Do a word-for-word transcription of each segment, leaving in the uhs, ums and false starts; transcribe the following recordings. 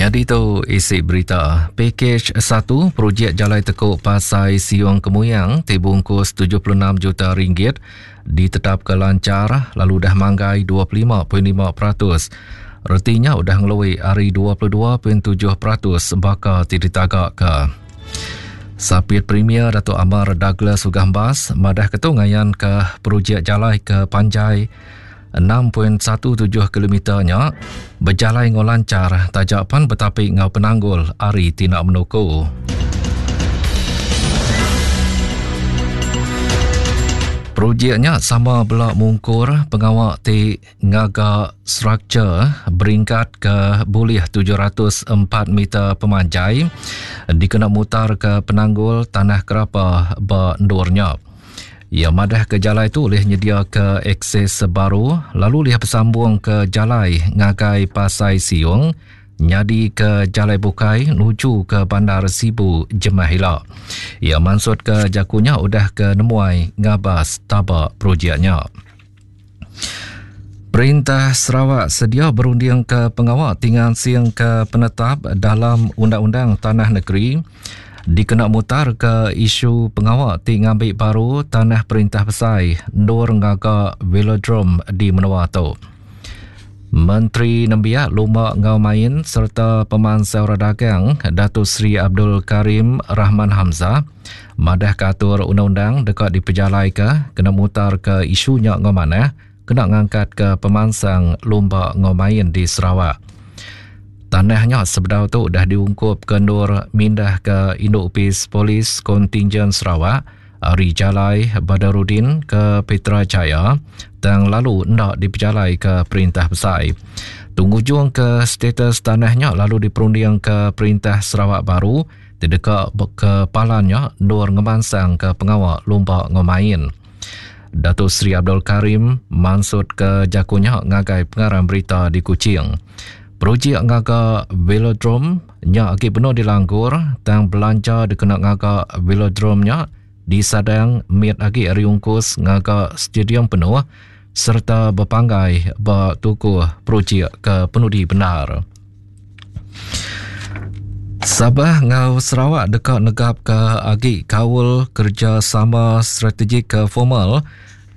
Nyadi tu isi berita. Pakej satu projek Jalai Tekuk Pasai Siong Kemuyang ti bungkus tujuh puluh enam juta ringgit ditetapkan lancar lalu dah manggai dua puluh lima perpuluhan lima peratus. Retinya udah ngelui hari dua puluh dua perpuluhan tujuh peratus baka ti ditagak ke. Sapit Premier Datuk Amar Douglas Uggah Embas madah ketu ngayan ke projek jalai ke panjai enam perpuluhan satu tujuh kilometer nya berjalai ngau lancar tajapan betapi ngau penanggul hari tindak menuku. Projeknya sama belak mungkur pengawak ti ngaga struktur beringkat ke bulih tujuh ratus empat meter pemanjai dikena mutar ke penanggul tanah kerapa ba ndurnya. Ia madah ke jalai tu boleh nyedia ke akses baru lalu liah bersambung ke jalai ngagai Pasai Siung nyadi ke jalai bukai nuju ke Bandar Sibu Jemah Ila. Ia maksud ke jakunya udah ke nemuai ngabas tabak projeknya. Perintah Sarawak sedia berunding ke pengawal tinggal siang ke penetap dalam Undang-Undang Tanah Negeri dikena mutar ke isu pengawal tinggal baru tanah perintah besar Nur Ngaga Velodrome di Menua tu. Menteri Nembiak Lumba Ngau Main serta Pemansau Dagang Datuk Seri Abdul Karim Rahman Hamzah madah katur undang-undang dekat dipejalai ke kena mutar ke isunya ngau manah kena ngangkat ke pemansang lumba ngau main di Sarawak. Tanahnya sebedau tu dah diungkup ke Nur mindah ke Induk Upis Polis Kontingen Sarawak ari Jalai Badarudin ke Petra Jaya tang lalu ndak dipejalai ke Perintah Besai. Tunggu ke status tanahnya lalu diperunding ke Perintah Sarawak baru terdekat ke palannya Nur ngemansang ke pengawal lumba ngau main. Datuk Seri Abdul Karim maksud ke jakunya ngagai pengarang berita di Kuching. Projek ngaga velodrome nya agi penuh dilanggur tang belanja dikena ngaga velodrome nya disadang mit agi ari ungkus ngaga stadium penuh serta berpanggai ba tukuh projek ke penudi benar. Sabah ngau Sarawak dekat negap ke agi kaul kerjasama strategik ke formal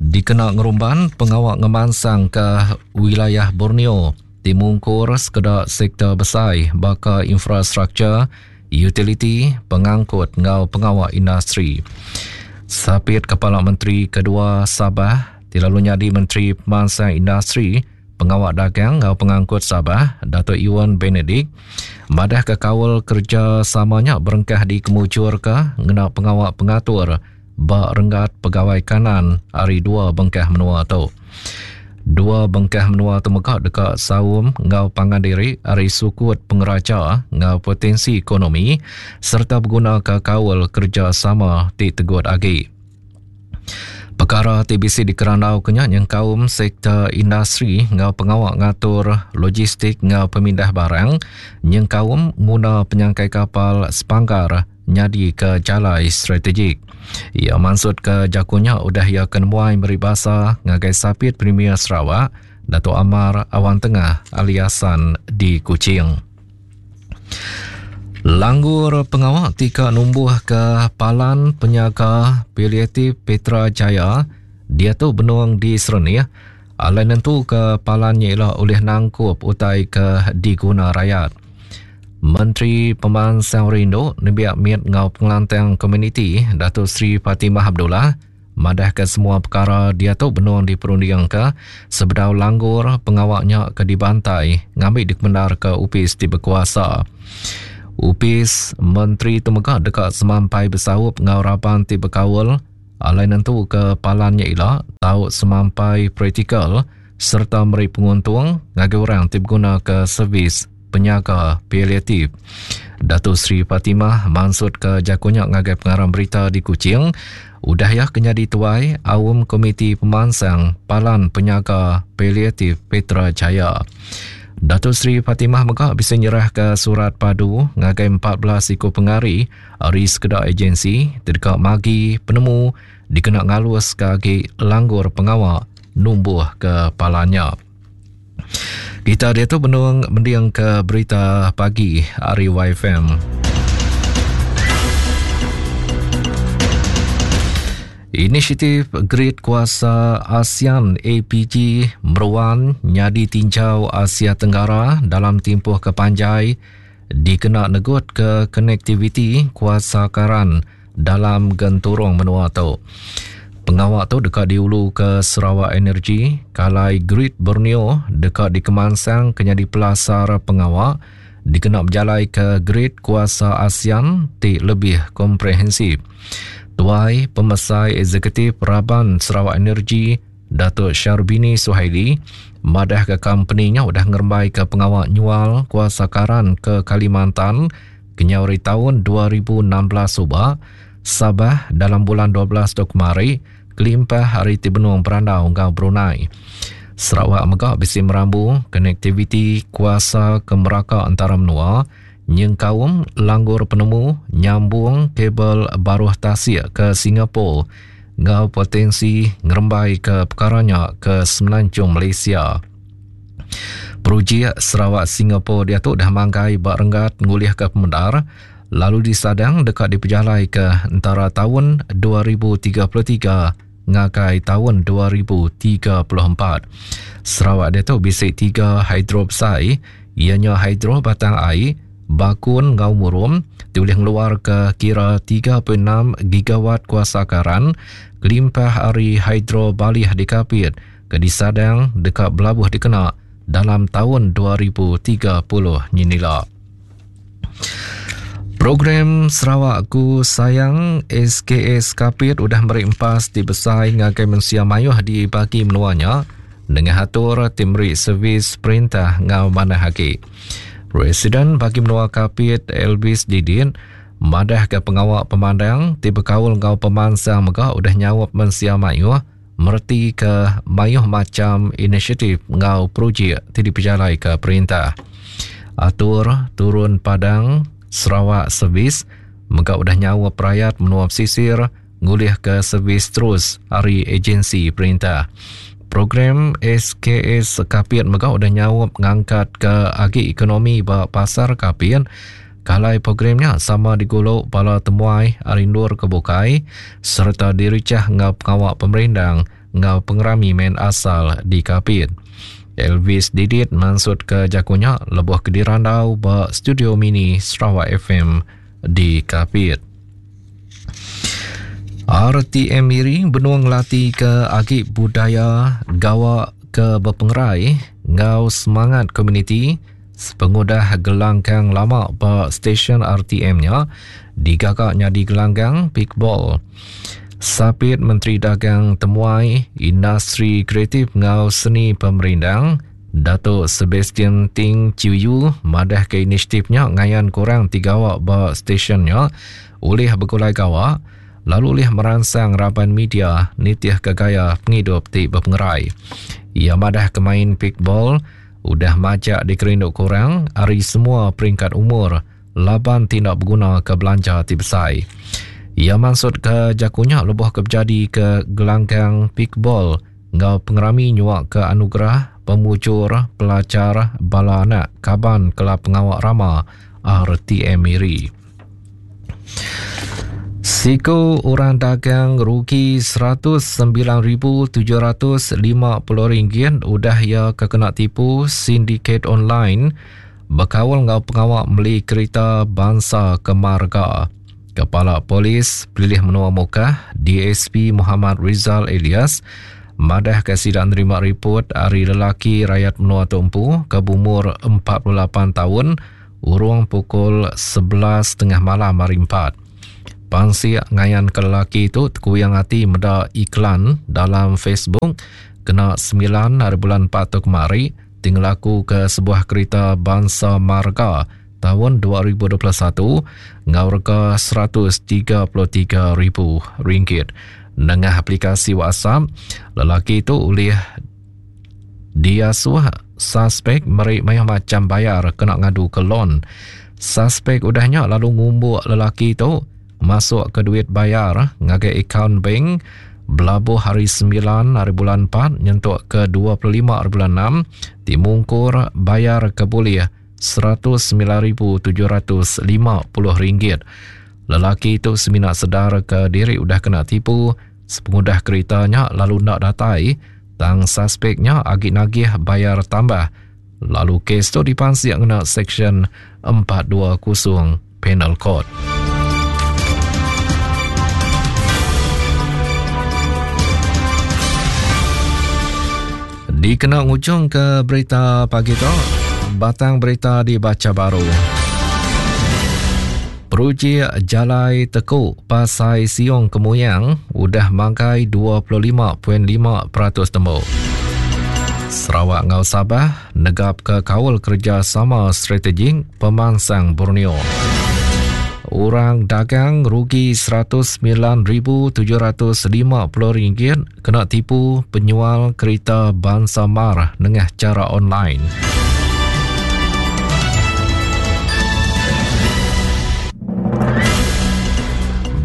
dikena ngerumban pengawak ngemansang ke wilayah Borneo timungkur sekedak sektor besar baka infrastruktur, utility, pengangkut ngau pengawak industri. Sapit Kepala Menteri Kedua Sabah, tilalu nyadi Menteri Pemansang Industri, Pengawak Dagang ngau Pengangkut Sabah, Datuk Iwan Benedict, madah ke kaul kerjasamanya berengkah di kemujur ke ngena pengawak pengatur ba renggat pegawai kanan hari dua bengkah menua tu. Dua bengkah menua tu megak dekat saum ngau pangan diri hari sukut pengeraja ngau potensi ekonomi serta berguna ke kaul kerjasama ti tegut agi. Perkara T B C dikerandau kenya yang kaum sektor industri ngau pengawak ngatur logistik ngau pemindah barang yang kaum guna penyangkai kapal sepanggar nyadi ke jalai strategik. Ia maksud ke jakunya udah ia kenemuai meribasa ngagai Sapit Premier Sarawak Datuk Amar Awan Tengah aliasan di Kuching. Langgur pengawak tika numbuh ke Palan Penyaga Paliatif Petra Jaya dia tu benung di Serenih alai nentu ke palannya ialah oleh nangkup utai ke diguna rakyat. Menteri Pemansang Rindu Nembiak Miat Ngau Pengelantang Komuniti Datuk Seri Fatimah Abdullah madah ke semua perkara dia tu benung diperunding ke sebedau langgur pengawaknya ke dibantai ngambil dikemendar ke upis di berkuasa. Upis Menteri tu megak dekat semampai bersaup ngau raban ti berkaul alai nentu ke palannya ila tau semampai praktikal serta meri penguntung ngagai orang ti berguna ke servis penyaga paliatif. Datuk Seri Fatimah maksud ke jakunya ngagai pengarang berita di Kuching udah ya kenyadi tuai awam Komiti Pemansang Palan Penyaga Paliatif Petra Jaya. Datuk Seri Fatimah megak bisa nyerah ke surat padu ngagai empat belas ikut pengari ari sekedak agensi terdekat magi penemu dikena ngalus ke agi langgur pengawak numbuh ke palannya. Kita dia tu benung mending ke berita pagi hari Y F M. Inisiatif Grid Kuasa ASEAN A P G meruan nyadi tinjau Asia Tenggara dalam tempoh kepanjai dikena negut ke konektiviti kuasa karan dalam genturung menua tu. Pengawak tu dekat diulu ke Sarawak Energy, kalai Grid Borneo dekat di Kemansang kenyadi pelasar pengawak dikena berjalai ke Grid Kuasa ASEAN ti lebih komprehensif. Tuai Pemesai Eksekutif Raban Sarawak Energy Datuk Syarbini Suhaili madah ke company-nya udah ngerembai ke pengawak nyual kuasa karan ke Kalimantan kenyauri tahun dua ribu enam belas subah Sabah dalam bulan dua belas tu kemari kelimpah hari ti benung berandau ngau Brunei. Sarawak megak bisi merambu konektiviti kuasa ke meraka antara menua nyengkaum langgur penemu nyambung kabel baruh tasik ke Singapura ngau potensi ngerembai ke perkaranya ke Semenanjung Malaysia. Projek Sarawak Singapura dia tu dah manggai bak renggat ngulih ke pemendar lalu disadang dekat dipejalai ke antara tahun dua ribu tiga puluh tiga ngagai tahun dua ribu tiga puluh empat. Sarawak dia tu bisik tiga hidro besar, ianya hidro Batang Ai, Bakun ngau Murum, diulih ngeluar ke kira tiga perpuluhan enam gigawatt kuasa karan, kelimpah ari hidro Balih di Kapit, ke disadang dekat belabuh dikena dalam tahun dua ribu tiga puluh nyinila. Program Sarawak Ku Sayang S K S Kapit udah meri empas di besai ngagai mensia mayuh di bagi menuanya dengan atur tim meri servis perintah ngau manah hagi. Presiden bagi menua Kapit Elvis Didin madah ke pengawak pemandang ti bekaul ngau pemansang mega udah nyawap mensia mayuh merti ke mayuh macam inisiatif ngau projek ti dipejalai ke perintah. Atur turun padang Sarawak Servis mega udah nyawa perayat menua pesisir ngulih ke servis terus hari agensi perintah. Program S K S Kapit mega udah nyawa ngangkat ke agi ekonomi ba pasar Kapit. Kalai programnya sama diguluk bala temuai ari endur ke bukai serta diricah ngau pengawak pemerindang ngau pengerami main asal di Kapit. Elvis Didit mansut ke jakunya lebuh ke dirandau ba studio mini Sarawak F M di Kapit. R T M Miri benung ngelatih ke agi budaya gawak ke berpengerai ngau semangat komuniti sepengudah gelanggang lama ba stesen R T M-nya digagaknya di gelanggang Pickball. Sapit Menteri Dagang Temuai Industri Kreatif ngau Seni Pemerindang Datuk Sebastian Ting Chiu madah ke inisiatifnya ngayan kurang tiga awak ba stesen-nya oleh bergulai gawak lalu oleh merangsang raban media nitih ke gaya penghidup ti berpengerai. Ia madah ke main pickball udah majak dikerinduk kurang ari semua peringkat umur laban tindak berguna ke belanja ti besar. Ia maksud ke jakunya lebuh ke berjadi ke gelanggang pickball ngau pengerami nyuak ke anugerah pemucur pelajar bala anak kaban kelab pengawak rama R T M Miri. Siku orang dagang rugi seratus sembilan ribu tujuh ratus lima puluh ringgit udah ia kena tipu sindiket online berkawal ngau pengawak beli kereta bangsa kemarga. Kepala Polis Pelilih Menua Mukah D S P Muhammad Rizal Elias madah ke sidang nerima report hari lelaki rakyat menua tumpu ke umur empat puluh lapan tahun urung pukul sebelas tengah malam hari empat. Pansik ngayan ke lelaki itu tekuyang hati meda iklan dalam Facebook kena sembilan hari bulan empat tu kemari tinggal laku ke sebuah kereta bangsa marga tahun dua ribu dua puluh satu ngau rega seratus tiga puluh tiga ribu ringgit. Nengah aplikasi WhatsApp, lelaki itu oleh diasuh suspek merik mayah macam bayar kena ngadu ke loan. Suspek udahnya lalu ngumbuk lelaki itu masuk ke duit bayar ngagai akaun bank Belabuh hari sembilan hari bulan empat nyentuk ke dua puluh lima hari bulan enam timungkur bayar ke boleh seratus sembilan ribu tujuh ratus lima puluh ringgit. Lelaki itu semina sedar ke diri udah kena tipu sepengudah keretanya lalu nak datai tang suspeknya agi nagih bayar tambah. Lalu kes tu dipansik ngena Seksyen empat dua kosong Penal Code. Dikena ngujung ke berita pagi tu, batang berita dibaca baru. Projek Jalai Teku Pasai Siong Kemuyang udah manggai dua puluh lima perpuluhan lima peratus tembok. Sarawak ngau Sabah negap ke kaul kerjasama strategik pemansang Borneo. Orang dagang rugi seratus sembilan ribu tujuh ratus lima puluh ringgit kena tipu penyual kereta bangsa Mar nengah cara online.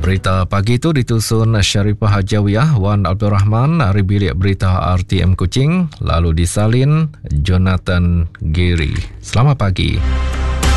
Berita pagi itu ditusun Sharifah Hajawiyah Wan Abdul Rahman dari Bilik Berita R T M Kuching, lalu disalin Jonathan Gary. Selamat pagi.